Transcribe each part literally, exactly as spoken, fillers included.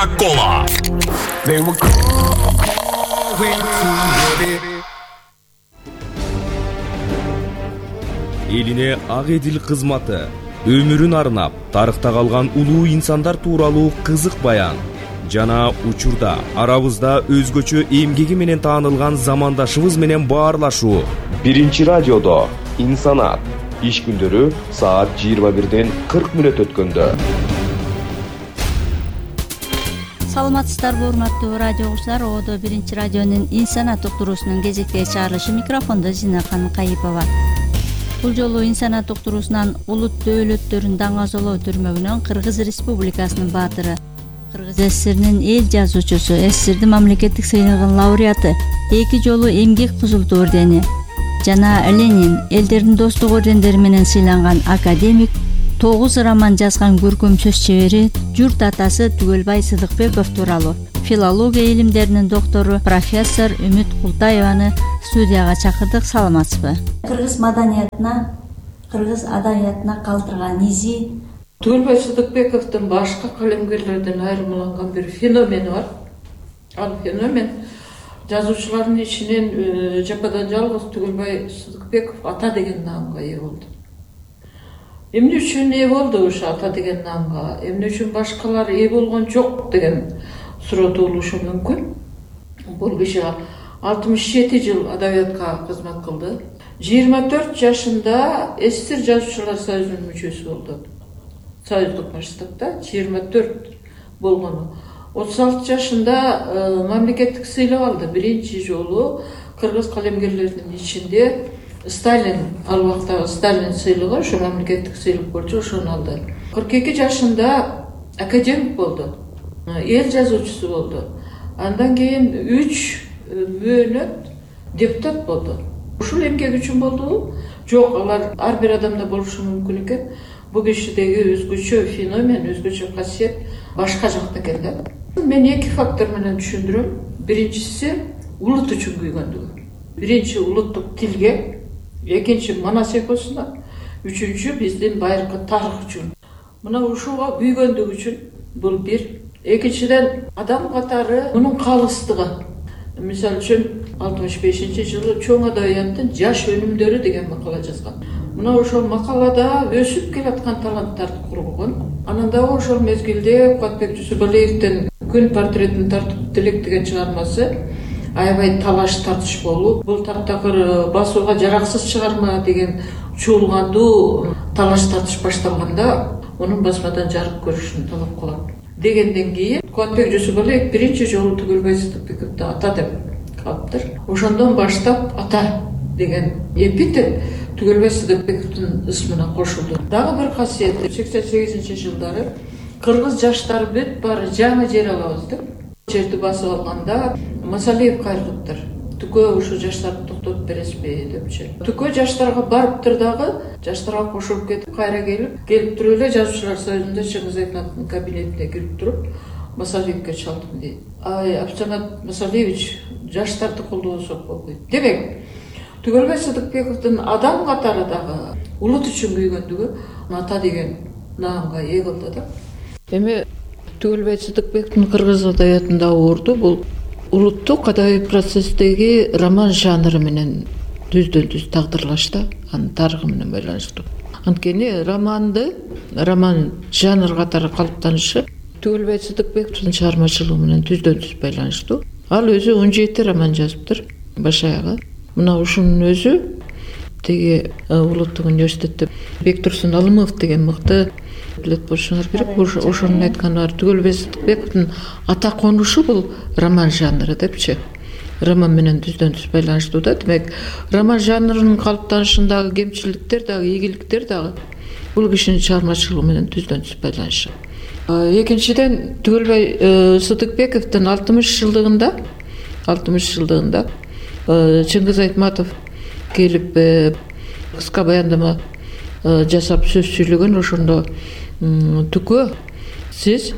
Кола. Элине ак эдил кызматы, өмүрүн арнап, тарыхта калган улуу инсандар тууралуу кызык баян жана учурда арабызда өзгөчө эмгеги менен таанылган замандашыбыз менен баарлашуу. Биринчи радиодо инсанат. Иш күндөрү саат жыйырма бирден кырк мүнөт өткөндө. Саламатсыздарбы, урматтуу радио угуучулар. Одо биринчи радионун инсанат уктуруусунун кезектеги чыгарылышы, микрофондо Зинакан Кайыпова. Бул жолу инсанат уктуруусунан улут дөөлөттөрүн даңазалоо түрмөгүнөн Кыргыз Республикасынын баатыры, Кыргыз ССРнин эл жазуучусу, ССРдин мамлекеттик сыйлыгынын лауреаты, эки жолу эмгек кызыл ордени жана Ленин элдердин достук ордендери менен сыйланган академик, тогуз роман жазган көркөм сөз чебери, журт атасы Түгөлбай Сыдыкбеков тууралуу филология илимдеринин доктору профессор Үмүт Култаеваны студияга чакырдык. Саламатсызбы? Кыргыз маданиятына, кыргыз адабиятына калтырган изи Түгөлбай Сыдыкбековдун башка калемгерлерден айырмаланган бир феномени бар. Ал феномен жазуучулардын ичинен жападан жалгыз Түгөлбай Сыдыкбеков ата деген наамга ээ болду. Эмне үчүн ээ болду ошо ата деген наамга? Эмне үчүн башкалар ээ болгон жок деген суроо туулушу мүмкүн. Бул киши алтымыш жети жыл адабиятка кызмат кылды. жыйырма төрт жашында ССР жазуучулар союзунун мүчөсү болду. Союздук масштабта жыйырма төрт болгону. отуз алты жашында мамлекеттик сыйлык алды. Биринчи жолу кыргыз калемгерлеринин ичинде Сталин, ал убакта Сталин сыйлыгы, ошо мамлекеттик сыйлык болчу, ошону алды. кырк эки жашында академик болду. Эл жазуучусу болду. Андан кийин үч мөөнөт депутат болду. Ушул эмгек үчүн болдубу? Жок, алар ар бир адамда болушу мүмкүн экен. Бул кишидеги өзгөчө феномен, өзгөчө касиет башка жакта экен да. Мен эки фактор менен түшүндүрөм. Биринчиси улут үчүн күйгөндүгү. Биринчи улуттук тилге, экинчи манас экосуна, үчүнчү биздин байыркы тарых үчүн. Мына ушуга күйгөндүгү үчүн бул бир. Экинчиден адам катары мунун калыстыгы. Мисалы үчүн алтымыш бешинчи жылы чоң адабияттын жаш өнүмдөрү деген макала жазган. Мына ошол макалада өсүп келаткан таланттарды кургон. Анан дагы ошол мезгилде Кубатбек Жусупалиевдин күн портретин тартып тилек деген чыгармасы аябай талаш тартыш болуп, бул таптакыр басууга жараксыз чыгарма деген чуулгандуу талаш тартыш башталганда мунун басмадан жарык көрүшүн талап кылат дегенден кийин Кубатбек Жусупалиев биринчи жолу Түгөлбай Сыдыкбековду ата деп калыптыр. Ошондон баштап ата деген эпитет Түгөлбай Сыдыкбековдун ысмына кошулду. Дагы бир касиети, сексен сегизинчи жылдары кыргыз жаштары бүт баары жаңы жер алабыз деп жерди басып алганда Масалиев кайрылыптыр. Түкө ушу жаштарды токтотуп бересизби депчи. Түкө жаштарга барыптыр дагы, жаштарга кошулуп кетип, кайра келип, келип туруп эле жазуучулар союзунда Чыңгыз Айтматовдун кабинетине кирип туруп, Масалиевке чалдым дейт. Ай, Абсамат Масалиевич, жаштарды колдобосок болбойт. Демек, Түгөлбай Сыдыкбековдун адам катары дагы улут үчүн күйгөндүгү ата деген наамга ээ кылды да. Эми Түгөлбай Сыдыкбековдун кыргыз адабиятындагы орду бул улуттук адабий процесстеги роман жанры менен түздөн-түз тагдырлашты, анын тарыхы менен байланыштуу. Анткени романды, роман жанр катары калыптанышы Түгөлбай Сыдыкбековдун чыгармачылыгы менен түздөн-түз байланыштуу. Ал өзү он жети роман жазыптыр, баш аягы. Мына ушунун өзү теги улуттук университетте Бектурсун Алымов деген мыкты билет болушуңар керек. Ошонун айтканы бар. Түгөлбай Сыдыкбековдун ата конушу бул роман жанры депчи. Роман менен түздөн-түз байланыштуу да. Демек, роман жанрынын калыптанышындагы кемчиликтер дагы, ийгиликтер дагы бул кишинин чыгармачылыгы менен түздөн-түз байланышы. Экинчиден, Түгөлбай Сыдыкбековдун алтымыш жылдыгында, алтымыш жылдыгында Чыңгыз Айтматов келип кыска баяндама жасап сөз сүйлөгөн. Ошондо Түкө, сиз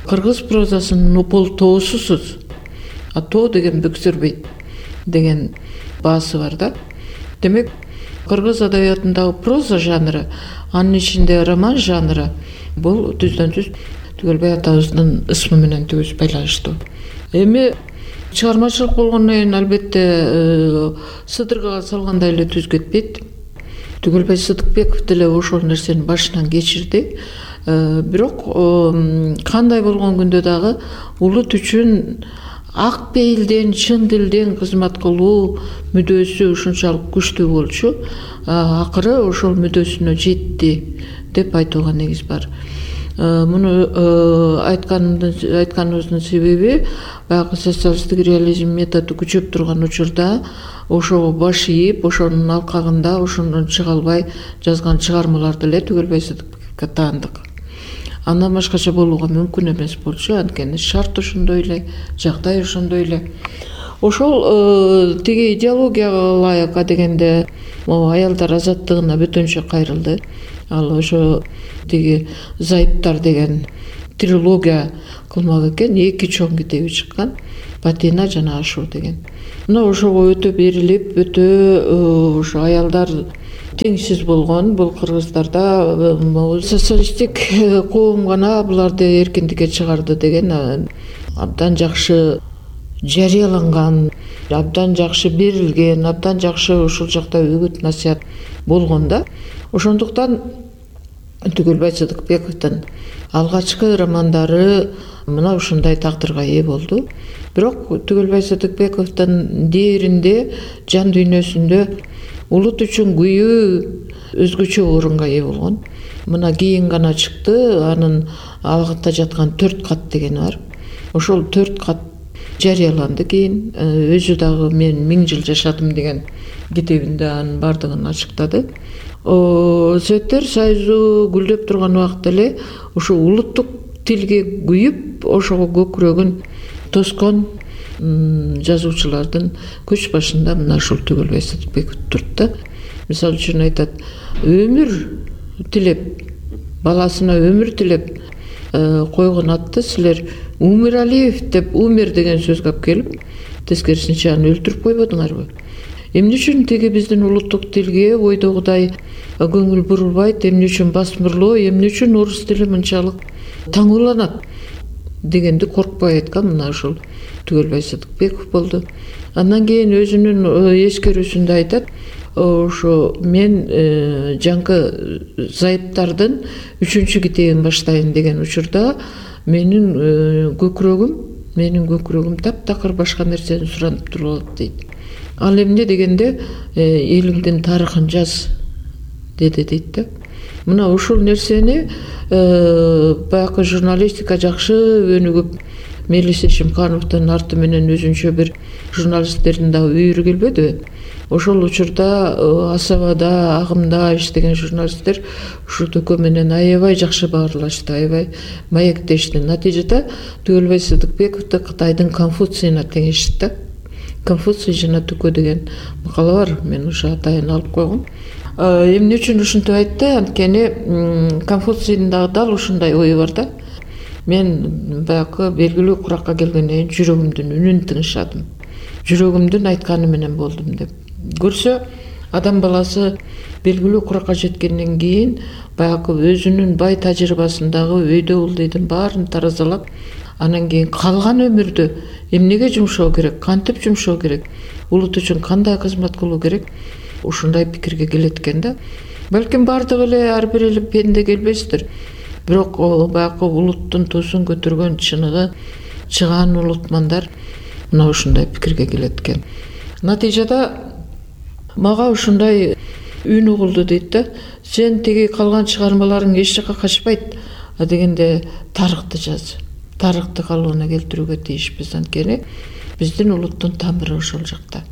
кыргыз прозасынын упол тоосусуз, а тоо деген бүксүрбөйт деген баасы бар да. Демек, кыргыз адабиятындагы проза жанры, анын ичинде роман жанры бул түздөн-түз Түгөлбай атабыздын ысмы менен түгүз байланыштуу. Эми чыгармачылык болгондон кийин албетте сыдыргага салгандай эле түз кетпейт. Түгөлбай Сыдыкбеков деле ошол нерсени башынан кечирди. Бирок кандай болгон күндө дагы улут үчүн ак пейилден, чын дилден кызмат кылуу мүдөөсү ушунчалык күчтүү болчу. Акыры ошол мүдөөсүнө жетти деп айтууга негиз бар. Муну айтканыбыздын себеби баягы социалисттик реализм методу күчөп турган учурда ошого баш ийип, ошонун алкагында ошондон чыга албай жазган чыгармаларды эле Түгөлбай Сыдыкбековго таандык. Андан башкача болууга мүмкүн эмес болчу, анткени шарт ошондой эле, жагдай ошондой эле. Ошол тиги идеологияга ылайык адегенде аялдар азаттыгына бөтөнчө кайрылды. Ал ошо тиги Зайыптар деген трилогия кылмак экен, эки чоң китеби чыккан, Батина жана Ашуу деген. Мына ошого өтө берилип, өтө ошо аялдар теңсиз болгон. Бул кыргыздарда социалисттик коом гана буларды эркиндикке чыгарды деген абдан жакшы жарыяланган, абдан жакшы берилген, абдан жакшы ушул жакта үгүт насаят болгон да. Ошондуктан Түгөлбай Сыдыкбековдун алгачкы романдары мына ушундай тагдырга ээ болду. Бирок Түгөлбай Сыдыкбековдун дээринде, жан дүйнөсүндө улут үчүн күйүү өзгөчө орунга ээ болгон. Мына кийин гана чыкты, анын алгакта жаткан төрт кат дегени бар. Ошол төрт кат жарыяланды кийин. Өзү дагы мен миң жыл жашадым деген китебинде анын бардыгын ачыктады. Советтер Союзу гүлдөп турган убакта эле ошо улуттук тилге күйүп, ошого көкүрөгүн тоскон жазуучулардын көч башында мына ушул Түгөлбай Сыдыкбеков турт да. Мисалы үчүн айтат, өмүр тилеп, баласына өмүр тилеп койгон атты силер Умиралиев деп умер деген сөзгө алып келип, тескерисинче аны өлтүрүп койбодуңарбы? Эмне үчүн тиги биздин улуттук тилге ойдогудай көңүл бурулбайт, эмне үчүн басмырлоо, эмне үчүн орус тили мынчалык таңууланат дегенди коркпой айткан мына ушул Түгөлбай Сыдыкбеков болду. Андан кийин өзүнүн эскерүүсүндө айтат, ошо мен жаңкы Зайыптардын үчүнчү китебин баштайын деген учурда менин көкүрөгүм, менин көкүрөгүм таптакыр башка нерсени суранып туруп дейт. Ал эмне дегенде элиңдин тарыхын жаз деди дейт да. Мына ушул нерсени баягы журналистика жакшы өнүгүп, Мелис Эшимкановдун арты менен өзүнчө бир журналисттердин дагы үйүрү келбедиби? Ошол учурда Асабада, Агымда иштеген журналисттер ушул төкө менен аябай жакшы баарлашты, аябай маектешти. Натыйжада Түгөлбай Сыдыкбековду Кытайдын Конфуцийине теңешти да. Конфуций жана төкө деген макала бар, мен ошо атайын алып койгом. Эмне үчүн ушинтип айтты? Анткени Конфуцийдин дагы дал ушундай ою бар да. Мен баягы белгилүү куракка келгенден кийин жүрөгүмдүн үнүн тыңшадым. Жүрөгүмдүн айтканы менен болдум деп. Көрсө, адам баласы белгилүү куракка жеткенден кийин баягы өзүнүн бай тажрыйбасындагы өйдө улдыйдын баарын таразалап, анан кийин калган өмүрдү эмнеге жумшоо керек, кантип жумшоо керек, улут үчүн кандай кызмат кылуу керек, ушундай пикирге келет экен да. Балким бардыгы эле ар бир эле пенде келбестир. Бирок баягы улуттун туусун көтөргөн чыныгы чыгаан улутмандар мына ушундай пикирге келет экен. Натыйжада мага ушундай үн угулду дейт да. Сен тиги калган чыгармаларың эч жакка качпайт, а дегенде тарыхты жаз. Тарыхты калыбына келтирүүгө тийишпиз, анткени биздин улуттун тамыры ошол жакта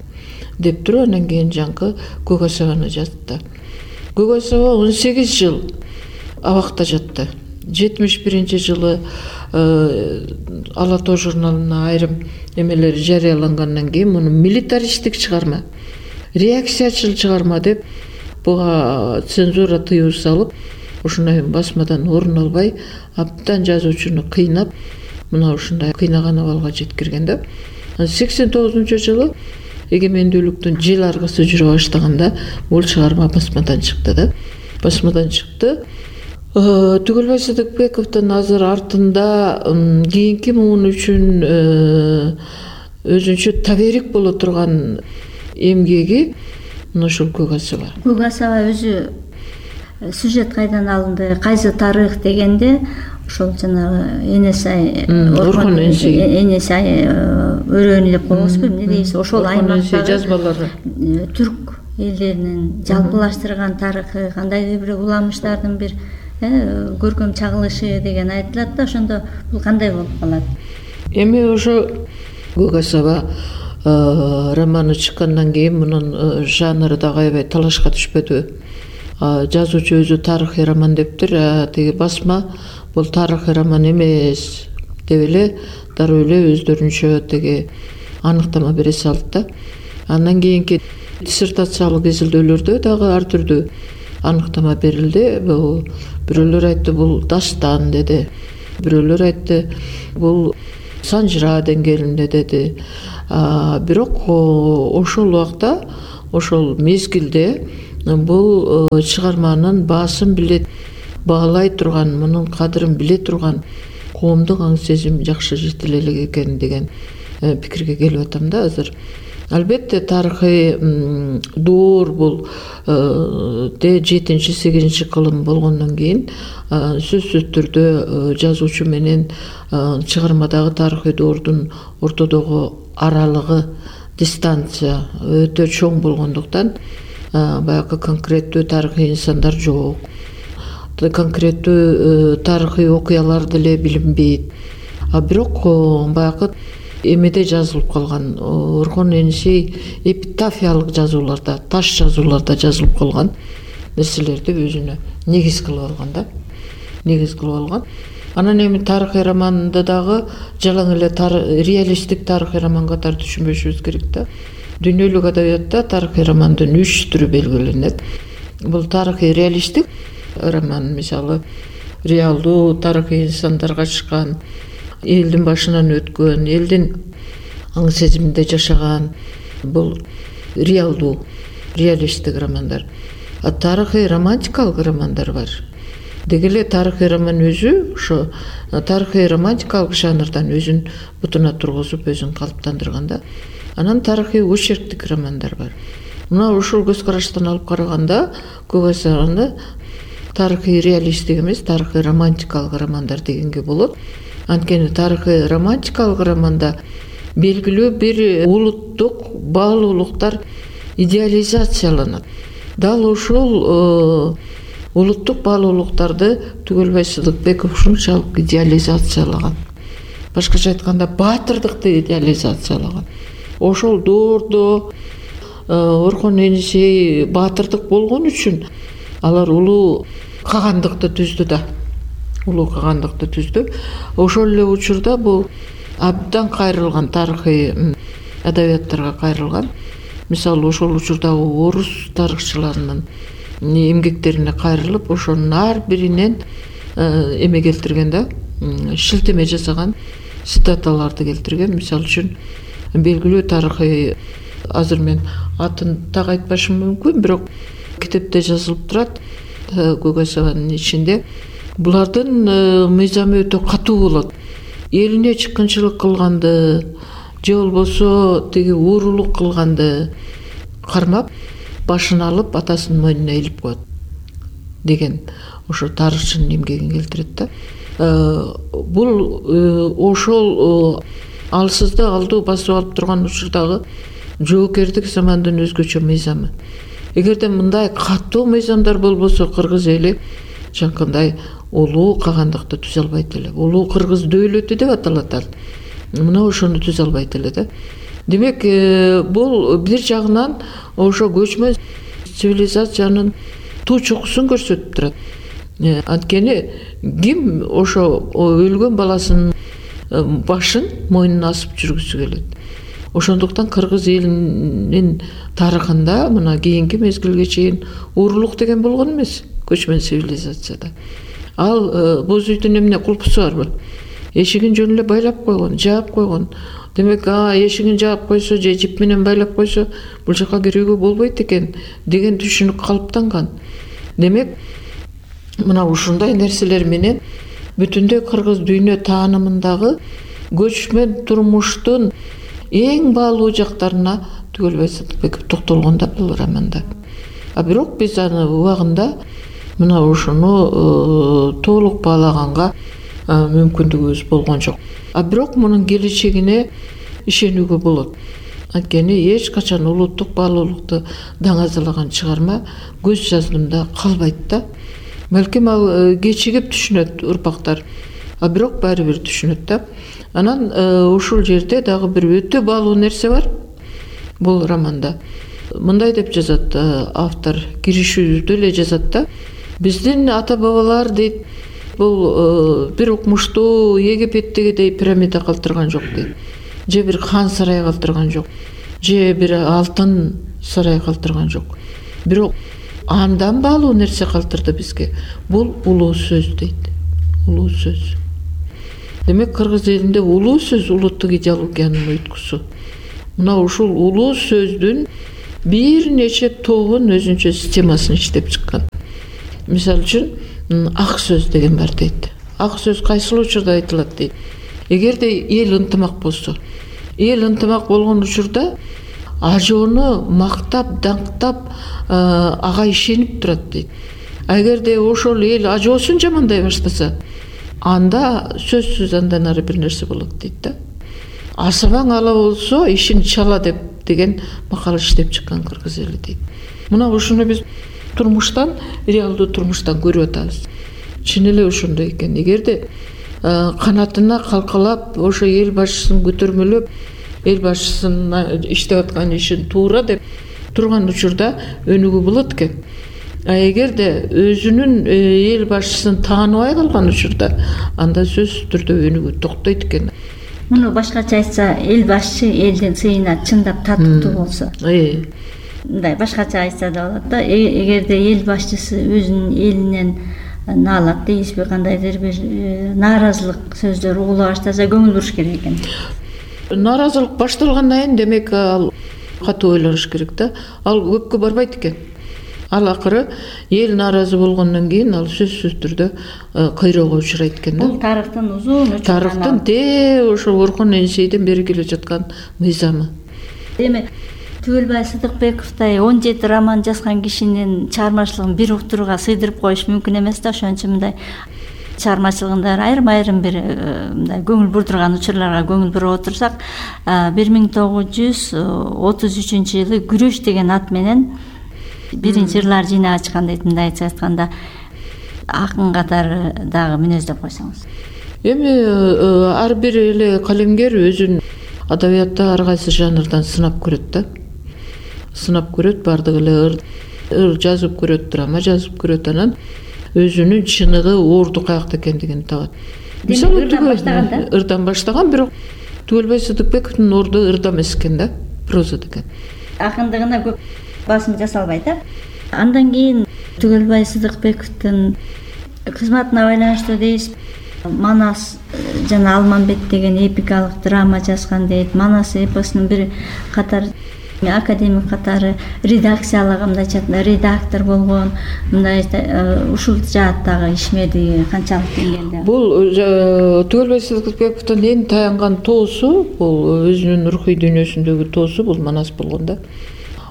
деп туруп, анан кийин жаңкы Көк Асабаны жазды. Көк Асаба он сегиз жыл абакта жатты. жетимиш биринчи жылы Ала тоо журналына айрым эмелери жарыялангандан кийин муну милитаристтик чыгарма, реакциячыл чыгарма деп буга цензура тыюу салып, ушундай басмадан орун албай абдан жазуучуну кыйнап, мына ушундай кыйнаган абалга жеткирген да. сексен тогузунчу жылы эгемендүүлүктүн жел аргысы жүрө баштаганда бул чыгарма басмадан чыкты да. Басмадан чыкты. Түгөлбай Сыдыкбековдун азыр артында кийинки муун үчүн өзүнчө таберик боло турган эмгеги мына ушул Көк асаба. Көк асаба өзү сюжет кайдан алынды, кайсы тарых дегенде ошол жанагы Энесай Орхон Энесай өрөөнү деп коебузбу, эмне дейбиз, ошол аймактагы жазмалары түрк элдеринин жалпылаштырган тарыхы, кандайдыр бир уламыштардын бир көркөм чагылышы деген айтылат да, ошондо бул кандай болуп калат? Эми ошо Көк асаба романы чыккандан кийин мунун жанры дагы аябай талашка түшпөдүбү? Жазуучу өзү тарыхый роман дептир, а тиги басма бул тарыхый роман эмес деп эле дароо эле өздөрүнчө тиги аныктама бере салды да. Андан кийинки диссертациялык изилдөөлөрдө дагы ар түрдүү аныктама берилди. Бул бирөөлөр айтты бул дастан деди, бирөөлөр айтты бул санжыра деңгээлинде деди. Бирок ошол убакта, ошол мезгилде бул чыгарманын баасын биле баалай турган, мунун кадырын биле турган коомдук аң сезим жакшы жетиле элек экен деген пикирге келип атам да азыр. Албетте тарыхый доор бул жетинчи сегизинчи кылым болгондон кийин сөзсүз түрдө жазуучу менен чыгармадагы тарыхый доордун ортодогу аралыгы, дистанция өтө чоң болгондуктан баягы конкреттүү тарыхый инсандар жок, конкреттүү тарыхый окуялар деле билинбейт. А бирок баягы эмеде жазылып калган, Орхон Энесей эпитафиялык жазууларда, таш жазууларда жазылып калган нерселерди өзүнө негиз кылып алган да, негиз кылып алган. Анан эми тарыхый романды дагы жалаң эле реалисттик тарыхый роман катары түшүнбөшүбүз керек да. Дүйнөлүк адабиятта тарыхый романдын үч түрү белгиленет. Бул тарыхый реалисттик роман, мисалы реалдуу тарыхый инсандар катышкан, элдин башынан өткөн, элдин аң сезиминде жашаган, бул реалдуу, реалисттик романдар. А тарыхый романтикалык романдар бар. Деги эле тарыхый роман өзү ошо тарыхый романтикалык жанрдан өзүн бутуна тургузуп, өзүн калыптандырган да. Анан тарыхый очерктик романдар бар. Мына ушул көз караштан алып караганда Көк асабаны тарыхый реалисттик эмес, тарыхый романтикалык романдар дегенге болот. Анткени тарыхый романтикалык романда белгилүү бир улуттук баалуулуктар идеализацияланат. Дал ошол улуттук баалуулуктарды Түгөлбай Сыдыкбеков ушунчалык идеализациялаган. Башкача айтканда баатырдыкты идеализациялаган. Ошол доордо Орхон Энесей баатырдык болгон үчүн алар улуу кагандыкты түздү да. Улуу кагандыкты түздү. Ошол эле учурда бул абдан кайрылган тарыхый адабияттарга кайрылган. Мисалы ошол учурдагы орус тарыхчыларынын эмгектерине кайрылып, ошонун ар биринен эме келтирген да, шилтеме жасаган, цитаталарды келтирген. Мисалы үчүн белгилүү тарыхый, азыр мен атын так айтпашым мүмкүн, бирок китепте жазылып турат Көк асабанын ичинде. Булардын мыйзамы өтө катуу болот. Элине чыккынчылык кылганды, же болбосо тиги уурулук кылганды кармап, башын алып атасынын мойнуна илип коет деген ошо тарыхчынын эмгегин келтирет да. Бул ошол алсызды алдуу басып алып турган учурдагы жоокердик замандын өзгөчө мыйзамы. Эгерде мындай катуу мыйзамдар болбосо, кыргыз эли жанакындай улуу кагандыкты түзө албайт эле. Улуу кыргыз дөөлөтү деп аталат ал. Мына ошону түзө албайт эле да. Демек, бул бир жагынан ошо көчмө цивилизациянын туу чокусун көрсөтүп турат. Анткени ким ошо өлгөн баласынын башын мойнуна асып жүргүсү келет. Ошондуктан кыргыз элинин тарыхында мына кийинки мезгилге чейин уурулук деген болгон эмес көчмөн цивилизацияда. Ал боз үйдүн эмне кулпусу барбы? Эшигин жөн эле байлап койгон, жаап койгон. Демек, а эшигин жаап койсо же жип менен байлап койсо бул жака кирүүгө болбойт экен деген түшүнүк калыптанган. Демек, мына ушундай нерселер менен бүтүндөй кыргыз дүйнө таанымындагы көчмөн турмуштун эң баалуу жактарына Түгөлбай Сыдыкбеков токтолгон да бул романда. А бирок биз аны убагында мына ушуну толук баалаганга мүмкүндүгүбүз болгон жок. А бирок мунун келечегине ишенүүгө болот. Анткени эч качан улуттук баалуулукту даңазалаган чыгарма көз жаздымда калбайт да. Балким ал кечигип түшүнөт урпактар, а бирок баары бир түшүнөт да. Анан ушул жерде дагы бир өтө баалуу нерсе бар бул романда. Мындай деп жазат автор, киришүүдө эле жазат да. Биздин ата бабалар дейт, бул бир укмуштуу Египеттегидей пирамида калтырган жок дейт. Же бир хан сарай калтырган жок. Же бир алтын сарай калтырган жок. Бирок андан баалуу нерсе калтырды бизге. Бул улуу сөз дейт. Улуу сөз. Демек кыргыз элинде улуу сөз улуттук идеологиянын уйткусу. Мына ушул улуу сөздүн бир нече тобун өзүнчө системасын иштеп чыккан. Мисалы үчүн ак сөз деген бар дейт. Ак сөз кайсыл учурда айтылат дейт. Эгерде эл ынтымак болсо, эл ынтымак болгон учурда ажоону мактап, даңктап, ага ишенип турат дейт. Эгерде ошол эл ажоосун жамандай баштаса, анда сөзсүз андан ары бир нерсе болот дейт да. Асабаң ала болсо, ишин чала деп деген макал иштеп чыккан кыргыз эли дейт. Мына ушуну биз турмуштан, реалдуу турмуштан көрүп атабыз. Чын эле ошондой экен. Эгерде канатына калкалап, ошо эл башчысын көтөрмөлөп, эл башчысынын иштеп аткан ишин туура деп турган учурда өнүгүү болот экен. А эгерде өзүнүн эл башчысын тааныбай калган учурда, анда сөзсүз түрдө өнүгүү токтойт экен. Муну башкача айтса, эл башчы элдин сыйына чындап татыктуу болсо. Мындай башкача айтса да болот да. Эгерде эл башчысы өзүнүн элинен наалат дейсизби, кандайдыр бир нааразылык сөздөр угула баштаса, көңүл буруш керек экен. Нааразылык башталгандан кийин демек ал катуу ойлонуш керек да. Ал көпкө барбайт экен. Ал акыры эл нааразы болгондон кийин ал сөзсүз түрдө кыйроого учурайт экен да. Бул тарыхтын узун учурунан. Тарыхтын те ошо Орхон Энисейден бери келе жаткан мыйзамы. Демек Түгөлбай Сыдыкбековдой он жети роман жазган кишинин чыгармачылыгын бир уктурууга сыйдырып коюш мүмкүн эмес да. Ошон үчүн мындай чыгармачылыгында айрым-айрым бир мындай көңүл бурдурган учурларга көңүл буруп отурсак, бир миң тогуз жүз отуз үчүнчү жылы Күрөш деген ат менен биринчи ырлар жыйнагы ачкан дейт. Мындайча айтканда, акын катары дагы мүнөздөп койсоңуз. Эми ар бир эле калемгер өзүн адабиятта ар кайсы жанрдан сынап көрөт да. Сынап көрөт, бардыгы эле ыр жазып көрөт, драма жазып көрөт, анан өзүнүн чыныгы, орду каякта экендигин табат. Мисалы ырдан баштаган, бирок Түгөлбай Сыдыкбековдун орду ырда эмес экен да, прозада экен. Акындыгына көп басым жасалбайт да. Андан кийин Түгөлбай Сыдыкбековдун кызматына байланыштуу дейсиз, Манас жана Алмамбет деген эпикалык драма жазган дейт. Манас эпосунун бир катар академик катары редакциялык, мындайча айтканда редактор болгон. Мындай ушул жааттагы ишмердиги канчалык деңгээлде? Бул Түгөлбай Сыдыкбековдун эң таянган тоосу, бул өзүнүн рухий дүйнөсүндөгү тоосу бул Манас болгон да.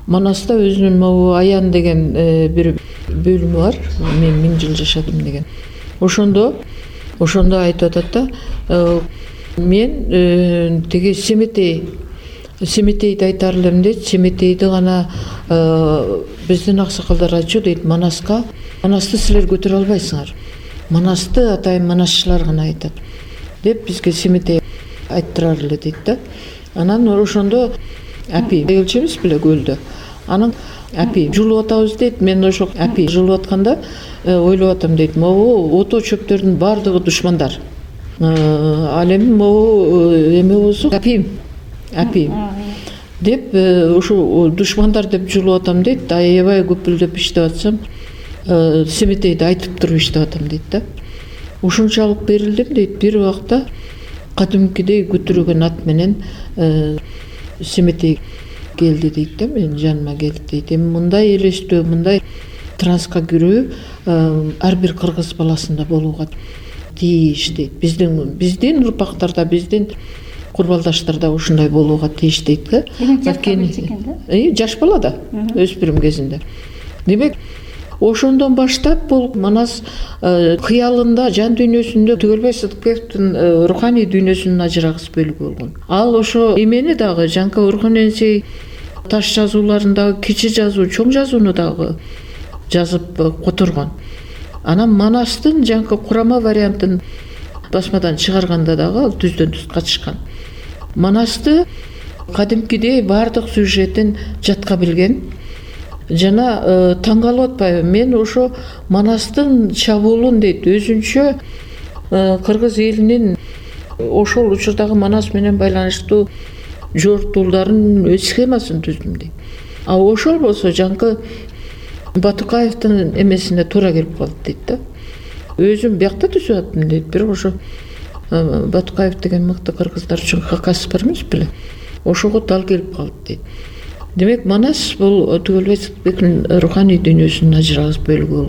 Манаста өзүнүн могу Аян деген бир бөлүмү бар. Мен миң жыл жашадым деген. Ошондо ошондо айтып атат да, мен тиги Семетей Семетейди айтар элем дейт. Семетейди гана биздин аксакалдар айтчу дейт, Манаска. Манасты силер көтөрө албайсыңар. Манасты атайын манасчылар гана айтат деп бизге Семетей айттырар эле дейт да. Анан ошондо апи келчүбүз беле көлдө. Анан апи жулуп атабыз дейт. Мен ошо апи жулуп атканда ойлоп атам дейт. Могу ото чөптөрдүн баардыгы душмандар. Ал эми могу эме болсо апи апи деп ушу душмандар деп жулуп атам дейт. Аябай көпүлдөп иштеп атсам, Семетейди айтып туруп иштеп атам дейт да. Ушунчалык берилдим дейт. Бир убакта кадимкидей көтөргөн ат менен Семетей келди дейт да, менин жаныма келди дейт. Эми мындай элестөө, мындай трансқа кирүү ар бир кыргыз баласында болууга тийиш дейт. Биздин биздин урпактарда, биздин курбалдаштарда ушундай болууга тийиш дейт да. Жаш бала да, өспүрүм кезинде. Демек, ошондон баштап бул Манас кыялында, жан дүйнөсүндө Түгөлбай Сыдыкбековдун руханий дүйнөсүнүн ажырагыс бөлүгү болгон. Ал ошо эмени дагы Жанка Орхоненсей таш жазууларындагы кичи жазуу, чоң жазууну дагы жазып которгон. Анан Манастын жаңкы курама вариантын басмадан чыгарганда дагы ал түздөн түз катышкан. Манасты кадимкидей баардык сюжетин жатка билген. Жана таң калып атпайбы, мен ошо Манастын чабуулун дейт, өзүнчө кыргыз элинин ошол учурдагы Манас менен байланыштуу жортуулдарын схемасын түздүм дейт. А ошол болсо жаңкы Батукаевдин эмесине туура келип калды дейт да. Өзүм биякта түзүп аттым дейт, бирок ошо Батукаев деген мыкты кыргыздар үчүн хакасы бар эмес беле? Ошого дал келип калды дейт. Демек, Манас бул Түгөлбай Сыдыкбековдун руханий дүйнөсүнүн ажырагыс бөлүгү болгон.